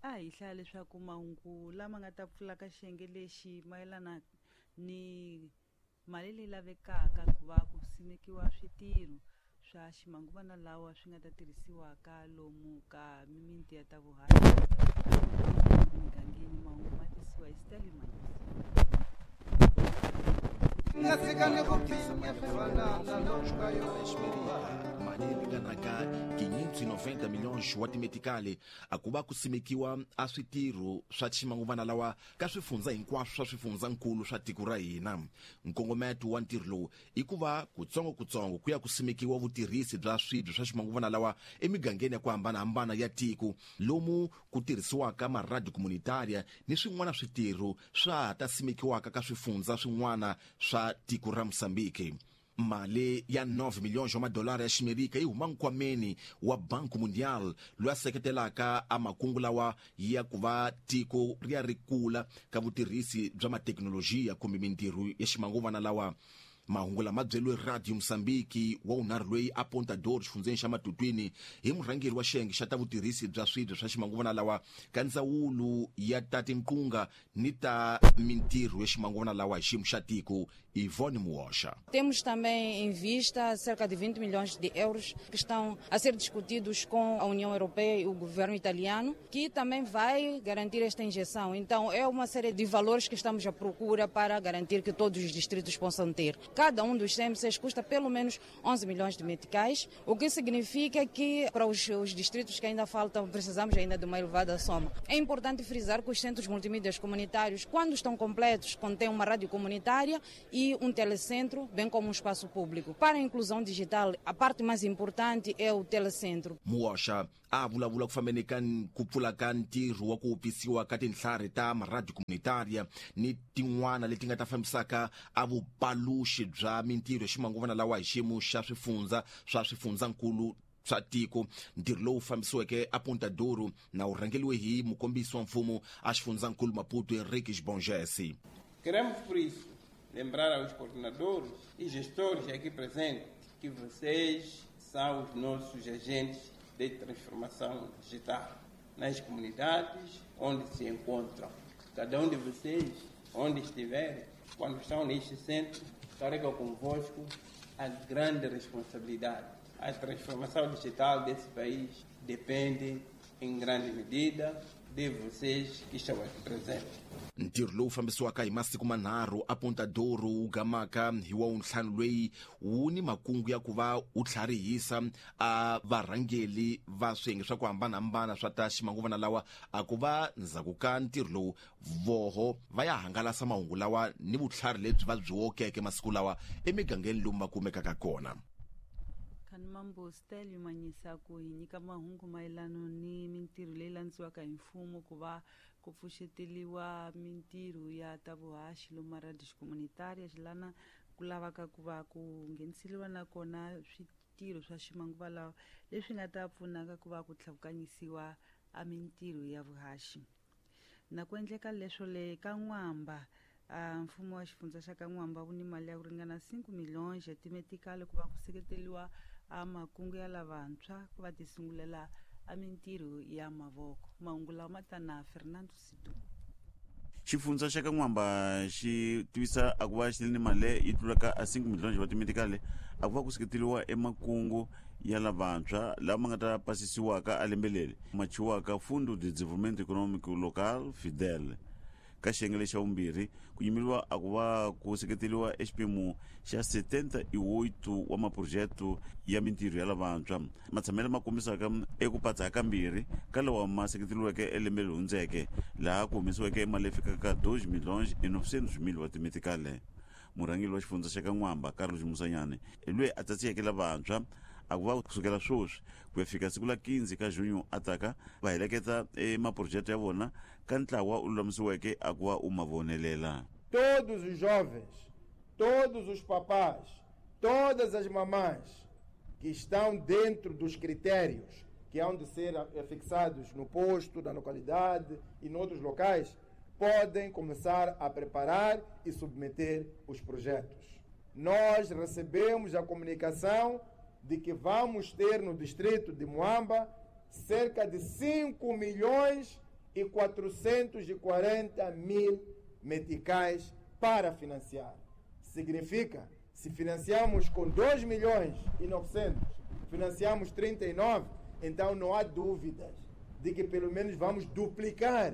A hi hlaya leswaku mahungu lama nga ta pfula ka xiyenge lexi mayelana ni mali leyi lavekaka ku va ku simekiwa switirho swa ximanguvana lawa swi nga ta tirhisiwaka lomu ka mimiti ya ta vuhaxi emigangeni. Mahungu ma tisiwa hi Stanley Manyisa. Mali leyi ringanaka 590 milhões wa timetikali a ku va ku simekiwa a switirho swa ximanguvana lawa ka swifundza hinkwaswo swa swifundzankulu swa tiko ra hina. Nkongometo wa ntirho lowu i ku va kutsongo-kutsongo ku ya ku simekiwa vutirhisi bya swibye swa ximanguvana lawa emigangeni ya ku hambanahambana ya tiko, lomu ku tirhisiwaka maradiyo komunitaria ni swin'wana switirho swa ha ta simekiwaka ka swifundza swin'wana swa tiko ra Mozambique. Mali ya 9 milhões wa madolara ya Ximerika yi huma nkwameni wa Banco Mundial, loyi a seketelaka a makungu lawa ya ku va tiko ri ya ri kula ka vutirhisi bya mathekinolojiya kumbe mintirho ya ximanguvana lawa. Mahungu lama byeriwe Radio Mozambique wa wunharhu loyi a Ponta do xifundzeni xa Matutwini hi murhangeri wa xiyenge xa ta vutirhisi bya swibye swa ximanguvana lawa ka ndzawulo ya ta tinqunga ni ta mintirho ya ximanguvana lawa hi xiyimo xa tiko, Ivone Muosha. Temos também em vista cerca de 20 milhões de euros que estão a ser discutidos com a União Europeia e o governo italiano, que também vai garantir esta injeção. Então, é uma série de valores que estamos à procura para garantir que todos os distritos possam ter. Cada um dos CMCs custa pelo menos 11 milhões de meticais, o que significa que para os distritos que ainda faltam, precisamos ainda de uma elevada soma. É importante frisar que os centros multimídias comunitários, quando estão completos, contêm uma rádio comunitária e um telecentro, bem como um espaço público. Para a inclusão digital, a parte mais importante é o telecentro. Muosha a vulavula ku fambeni ka ku pfula ka ntirho wa ku pfisiwa ka tinhlari ta maradiyo komunitaria ni tin'wana leti nga ta fambisaka a vupaluxi bya mintirho ya ximanguvana lawa hi xiyimo xa swifundza swa swifundzankulu swa tiko. Ntirho lowu fambisiweke a Ponta Douro na wu rhangeriwe hi mukombisi wa mfumo a xifundzankulu Maputo, Henrique Bongesi. Queremos, por isso, lembrar aos coordenadores e gestores aqui presentes que vocês são os nossos agentes de transformação digital nas comunidades onde se encontram. Cada um de vocês, onde estiver, quando estão neste centro, carrega convosco a grande responsabilidade. A transformação digital desse país depende, em grande medida, de vocês que estão aqui presentes. Ntirho lowu fambisiwaka hi masiku manharhu a Ponta Douro wu gamaka hi wa wuntlhanu loyi wu ni makungu ya ku va wu tlharihisa a varhangeli va swiyenge swa ku hambanahambana swa ta ximanguvana lawa a ku va ndzhaku ka ntirho lowu voho va ya hangalasa mahungu lawa ni vutlhari lebyi va byi wokeke masiku lawa emigangeni lomu va kumekaka kona. Khanimambo Stelio Manyisa ku hi nyika mahungu mayelano ni mintirho leyi landziwaka hi mfumo ku va ku pfuxeteliwa mintirho ya ta vuhaxi lomu maradiyo xikomunitaria xilana ku lavaka ku va ku ngheniseliwa na kona switirho swa ximanguva lawa leswi nga ta pfunaka ku va ku tlhavukanyisiwa a mintirho ya vuhaxi. Na ku endleka leswo le ka N'wamba, mfumo wa xifundza xa ka N'wamba wu ni mali ya ku ringana 5 milhões ya timetikali ku va ku seketeriwa a makungu ya lavantshwa ku va tisungulela a mintirho ya mavoko. Mahungu lawa ma ta na Fernando Situ. Xifundza xa ka N'wamba xi tivisa a ku va xi ri ni mali yi tlulaka a 5 milhões wa timetikali a ku va ku seketeriwa emakungu ya lavantshwa lama nga ta pasisiwaka a lembe leri ma chiwaka Fundo de Desenvolvimento Econômico Local, Fidel. Ka xiyenge lexa vumbirhi ku yimeriwa a ku va ku seketeriwa exiphemu xa 78 wa maphurojete ya mintirho ya lavantshwa matshamelo ma kombisaka eku patsa kambirhi ka lawa ma seketeriweke elembe leri hundzeke, laha ku humesiweke mali leyi fikaka 2 milhões e 900 mil wa timetikale. Murhangeri wa xifundza xa ka N'wamba, Carlos Musanyane, hi loyi a tsatsiyeke lavantshwa a ku va kusukela sweswi ku ya fika siku la 15 ka junho a taka va heleketa emaphurojete ya vona ka ntlawa u lulamisiweke a ku va u ma vonelela. Todos os jovens, todos os papás, todas as mamães que estão dentro dos critérios que hão de ser fixados no posto, na localidade e noutros locais, podem começar a preparar e submeter os projetos. Nós recebemos a comunicação de que vamos ter no distrito de Moamba cerca de 5 milhões e 440 mil meticais para financiar. Significa, se financiamos com 2 milhões e 900, financiamos 39, então não há dúvidas de que pelo menos vamos duplicar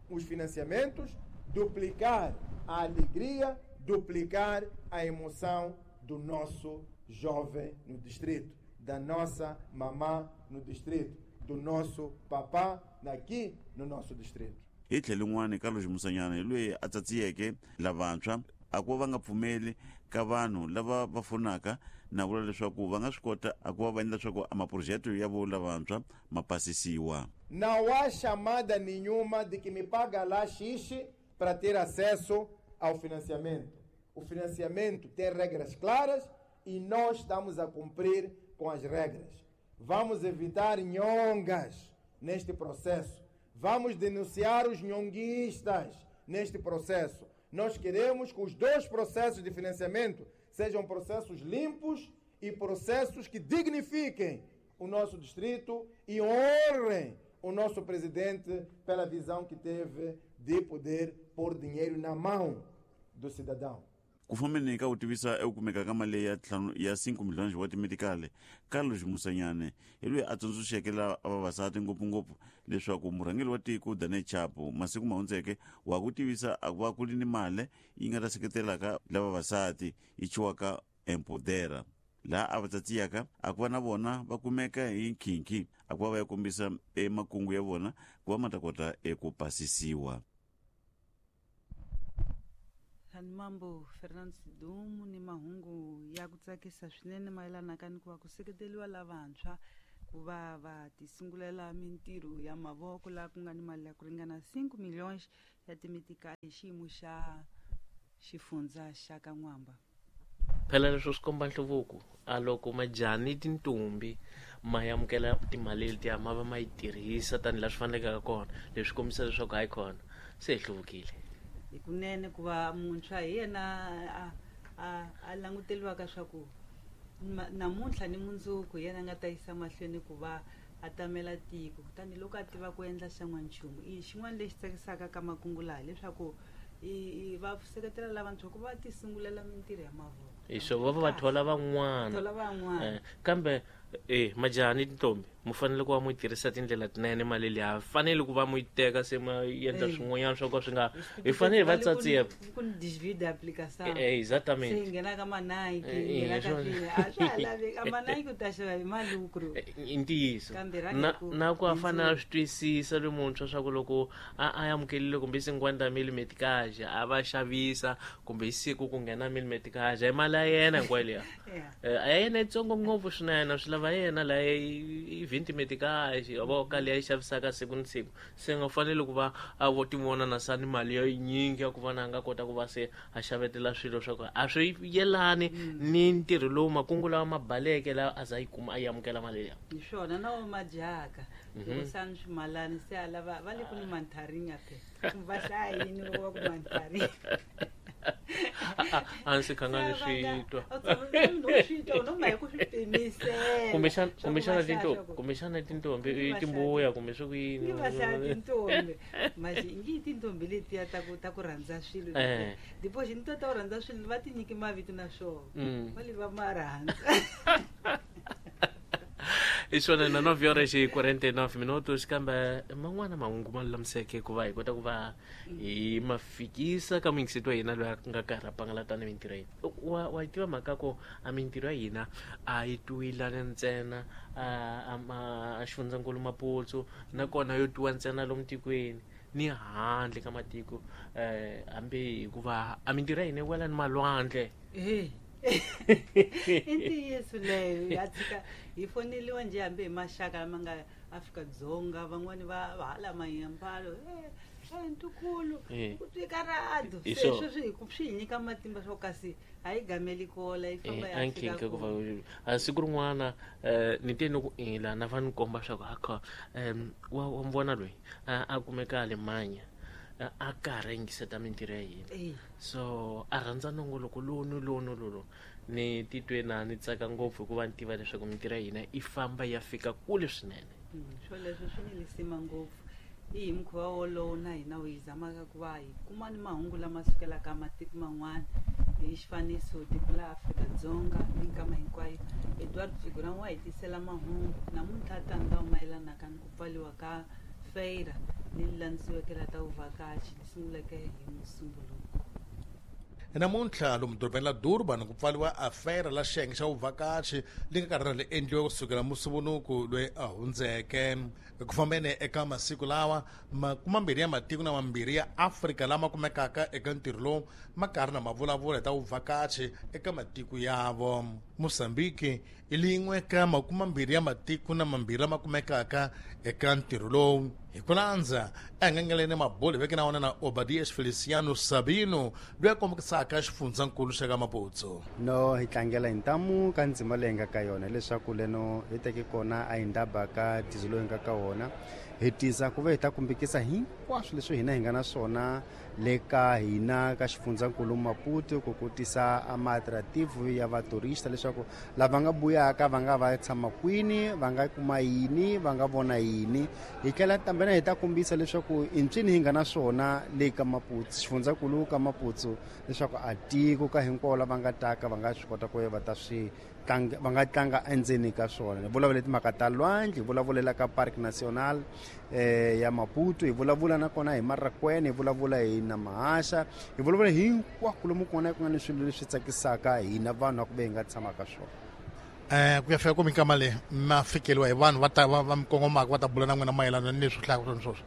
os financiamentos, duplicar a alegria, duplicar a emoção do nosso jovem no distrito, da nossa mamã no distrito, do nosso papá aqui no nosso distrito. Hi tlhelo rin'wana Carlos Musanyana hi loyi a tsatsiyeke lavantshwa a ku va va nga pfumeli ka vanhu lava va fonaka na vula leswaku va nga swi kota a ku va va endla leswaku a maphurojete ya vo lavantshwa ma pasisiwa. Não há chamada nenhuma de que me paga lá X para ter acesso ao financiamento. O financiamento tem regras claras e nós estamos a cumprir com as regras. Vamos evitar nhongas neste processo. Vamos denunciar os nhonguistas neste processo. Nós queremos que os dois processos de financiamento sejam processos limpos e processos que dignifiquem o nosso distrito e honrem o nosso presidente pela visão que teve de poder pôr dinheiro na mão do cidadão. Ku fambeni ka ku tivisa eku kumeka ka mali ya ntlhanu ya 5 milhões wa timedikali, Carlos Musanyane hi loyi a tsundzuxeke la vavasati ngopfungopfu leswaku murhangeri wa tiko Daniel Chapo masiku ma hundzeke wa ku tivisa a va ku ri ni mali yi nga ta seketelaka la vavasati yi chiwaka Empodera, laha a va tsatsiyaka a ku va na vona va kumeka hi nkhinkhi a ku va va ya kombisa emakungu ya vona ku va ma ta kota eku pasisiwa. Mambo Fernando Sidumu ni mahungu ya ku tsakisa swinene mayelana ka ni ku va ku seketeriwa lavantshwa ku va va tisungulela mintirho ya mavoko laha ku nga ni mali ya ku ringana 5 milhões ya timitikali hi xiyimo xa xifundza xa ka N'wamba. Phela leswo swi komba nhluvuko a loko majani tintombi ma amukela timali letiya ma va ma yi tirhisa tanihi laha swi faneleke kona, leswi kombisa leswaku hayi kona se hi hluvukile. Hi kunene ku va muntshwa hi yena a languteriwaka swa ku namuntlha ni mundzuku hi yena a nga ta yisa mahlweni ku va a tamela tiko, kutani loko a tiva ku endla xan'wanchumu. I xin'wana lexi tsakisaka ka makungu laha hileswaku va seketela lavantshwa ku va ti sungulela mintirho ya mavoko. Hi swo va va thola van'wana. Kambe majani tintombi mu fanele ku va mu tirhisa tindlela tinene mali liya, fanele ku va mu yi teka se ma endla swin'wanyana swo ka swi nga hi fanele va tsatsiya ku ni desvio de aplicação. Exatamente. Se nghena ka ma-Nike, nghena ka swilo a swa ha laveki. A ma-Nike u ta xava hi malukru. I ntiyiso. Na ku a fanele a swi twisisa loyi muntshwa swa ku loko a amukelile kumbe i 50 mil meticage a va xavisa kumbe hi siku ku nghena mil meticage hi mali ya yena hinkwayo liya. A ya yena yitsongo ngopfu swinene, swi lava yena laha i 20 meticage vo ka leyi xavisaka siku ni siku, se nga fanele ku va a vo tivona na sani mali ya yinyingi ya ku va na nga kota ku va se a xavetela swilo swa ku a swi yelani ni ntirho lowu makungu lawa ma baleke lawa a za yi kuma a yi amukela mali liya. Hi swona na wo majaka loko sani swimalani se a lava va le ku ni mantharinga phela va hlaya yini loko va ku mantharinga. A ndzi khanga ni swi twa. Kumbexana tintombi i timbuya kumbe swi ku yini. Va hlaya tintombi manje ingi tintombi letiya ta ku ta ku rhandza swilo depois ni to ta ku rhandza swilo va ti nyiki mavito na swona va le va ma rhandza. Hi swona na 9 horas e 49 minutos kambe man'wana mahungu ma lulamiseke ku va hi kota ku va hi ma fikisa ka muyingiseti wa hina loyi a nga karhi a pangalata ni mintirho ya hina. Wa yi tiva mhaka ku a mintirho ya hina a yi twiwilana ntsena a xifundzankulu Maputo nakona yo twiwa ntsena lomu tikweni ni handle ka matiko, hambi hikuva a mintirho ya hina yi wela ni malwandle. I ntiyiso leyo ya tshika hi foneliwa njhe hambi hi maxaka lama nga Afrika-Dzonga, van'wani va hala Mayambalo ntukulu ku twika rado se sweswo swi hi nyika matimba swo kasi a yi gameli kola yi famba ya fika ku va siku rin'wana ni te ni ku ila na va ni komba swa ku akha wa vona loyi a kumeka Alemanya a karhi yingiseta mintirho ya hina, so a rhandza nongoloko lowu ni lowu ni lowu ni titwe na ni tsaka ngopfu hikuva ni tiva leswaku mintirho ya hina yi famba ya fika kule swinene. Swoleswo swi ni lisima ngopfu. I hi mukhuva wolowo na hina hi zamaka ku va hi kuma ni mahungu lama sukelaka matiko man'wana hi xifaniso tiko la Afrika-Dzonga minkama hinkwayo. Eduardo Figuran wa hi tisela mahungu namuntlha tani lawa mayelanaka ni ku pfaliwa ka feira leyi landziweke la ta vuvhakachi li sunguleke hi Musumbuluko. Namuntlha lomu dorobeni la Durban ku pfaliwa afera la xiyenge xa vuvhakachi li nga karhi ri endliwa kusukela Musumbuluko loyi a hundzeke. Ku fambeni eka masiku lawa 20 ya matiko na mambirhi ya Afrika lama kumekaka eka ntirho lowu ma karhi na mavulavula hi ta vuvhakachi eka matiko yavo. Mozambique i lin'we ka 20 ya matiko na mambirhi lama kumekaka eka ntirho lowu. Hi ku landza engengeleni mabulu veke na wona na Obadias Feliciano Sabino loyi a kombisaka xifundzankulu xa ka Maputo. No hi tlangela hi ntamu ka ndzima leyi nga ka yona leswaku leno hi teke kona a hi ndaba ka tizo loyi nga ka wona hi tisa ku va hi ta kumbikisa hinkwaswo leswi hina hi nga na swona le ka hina ka xifundzankulu Maputo ku kotisa a ma-attractive ya vaturista leswaku lava nga buyaka va nga va tshama kwini, va nga kuma yini, va nga vona yini. Hi tlhela tambena hi ta kombisa leswaku i ncini hi nga na swona le ka Maputo, xifundzankulu ka Maputo, leswaku a tiko ka hinkwavo lava nga taka va nga swi kota ku va ta swi tlanga, va nga tlanga endzeni ka swona. Hi vulavula timhaka ta lwandle, hi vulavulela ka Park National ya Maputo, hi vulavula nakona hi Marracuene, hi vulavula hi Namahasha, hi vulavula hinkwako lomu kona ku nga ni swilo leswi tsakisaka hina vanhu a ku ve hi nga tshama ka swona. Ku ya fika ku minkama leyi ma fikeliwa hi vanhu va ta va mi kongomaka va ta bula na n'wina mayelana ni leswi hlayaka swona sweswo.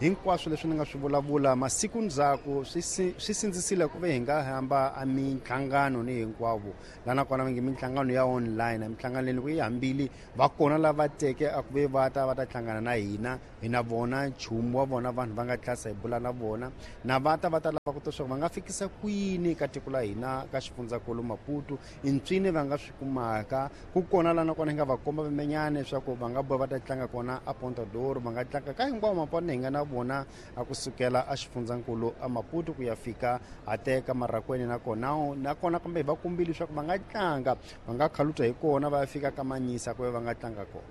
Hinkwaswo leswi ni nga swi vulavula masiku ndzhaku swi sindzisile ku ve hi nga hamba a minhlangano ni hinkwavo laha nakona va nge minhlangano ya online, minhlangano leyi loko yi hambile va kona lava teke a ku ve va ta va ta hlangana na hina, hi na vona nchumu wa vona vanhu va nga tlasa hi bula na vona na va ta va ta lava ku ta leswaku va nga fikisa kwini ka tiko la hina ka xifundzankulu Maputo, i ntswini va nga swi kumaka ku kona laha nakona hi nga va komba vimenyana leswaku va nga boha va ta tlanga kona a Ponta d'Oro, va nga tlanga ka hinkwawo mapona hi nga na vona a kusukela a xifundzankulu a Maputo ku ya fika a teka Marracuene nakona kambe hi va kombile leswaku va nga tlanga va nga khaluta hi kona va ya fika ka Manyisa ku va nga tlanga kona.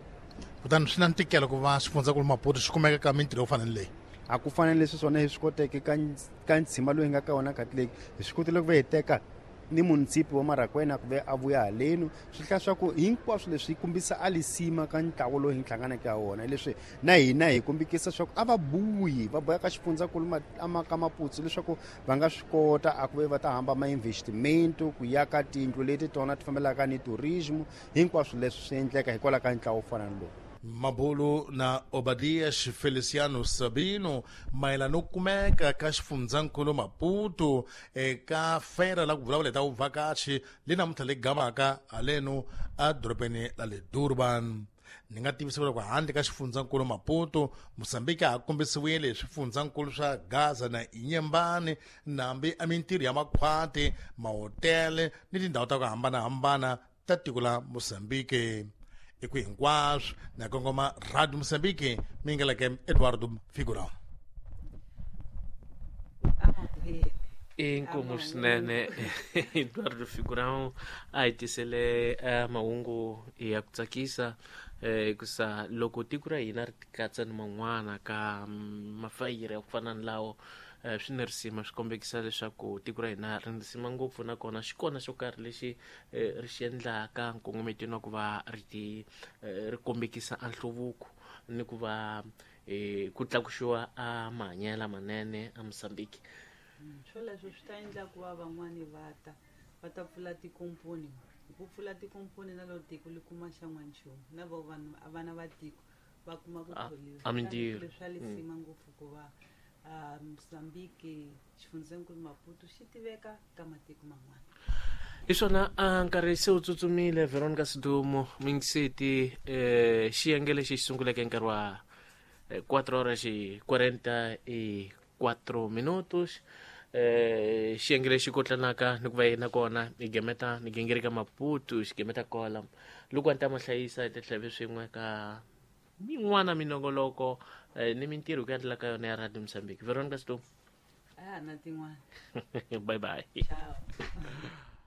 Kutani swi na ntikelo ku va xifundzankulu Maputo xi kumeka ka mintirho yo fana ni leyi. A ku fanele leswi swona hi swi koteke ka ntshima loyi hi nga ka wona Catholic, hi swi kotile ku va hi teka ni munisipi wa Marracuene ku ve a vuya halenu, swi hlaya swa ku hinkwaswo leswi kombisa a lisima ka ntlawa lowu hi hlanganeke ha wona, leswi na hina hi kombikisa swa ku a va buyi va boya ka xifundzankulu ka Maputo leswaku va nga swi kota a ku ve va ta hamba ma investment ku ya ka tindlu leti tona ti fambelaka ni tourism, hinkwaswo leswi swi endleka hikwalaho ka ntlawa wo fana ni lowu. Mabulu na Obadias Feliciano Sabino mayelana no kumeka ka xifundzankulu Maputo eka fera la ku vulavula hi ta vuvhakachi le namuntlha le gamaka haleno a dorobeni la le Durban. Ni nga tivisa leswaku handle ka xifundzankulu Maputo, Mozambique a kombisiwile hi swifundzankulu swa Gaza na Inhambane, nambi a mintirho ya makhwati, mahotele ni tindhawu ta ku hambanahambana ta tiko la Mozambique. Eku hinkwaswo na kongoma Radio Mozambique mingeleke Eduardo Figurão. Inkomu swinene Eduardo Figurão a hi tisele mahungu ya ku tsakisa hikusa loko tiko ra hina ri tikatsa ni man'wana ka mafayiri ya ku fana ni lawo swi ni risima, swi kombekisa leswaku tiko ra hina ri risima ngopfu nakona xi kona xo karhi lexi ri xi endlaka nkongometweni wa ku va ri ti ri kombekisa a nhluvuko ni ku va ku tlakuxiwa a mahanyelo lamanene a Mozambique. Swoleswo swi ta endla ku va van'wani va ta pfula tikomponi, hi ku pfula tikomponi na loko tiko li kuma xan'wanchumu na vo vanhu vana va tiko va kuma ku tholiwa. A mintirho. Leswi swa lisima ngopfu ku va Mozambique xifundzankulu Maputo xi tiveka ka matiko man'wana. Hi swona a nkarhi se wu tsutsumile Veronica Sidumo mingiseti xiyenge lexi xi sunguleke nkarhi wa 4 horas e 44 minutos xiyenge lexi kotlanaka ni ku va yena kona hi gemeta ni gingirika Maputo xi gemeta kola loko a ni ta ma hlayisa hi ta tlhave swin'we ka min'wana minongoloko ni mintirho ku endlela ka yona ya Radio Mozambique. Veronica Sidumo. Na tin'wana. Bye bye. Ciao.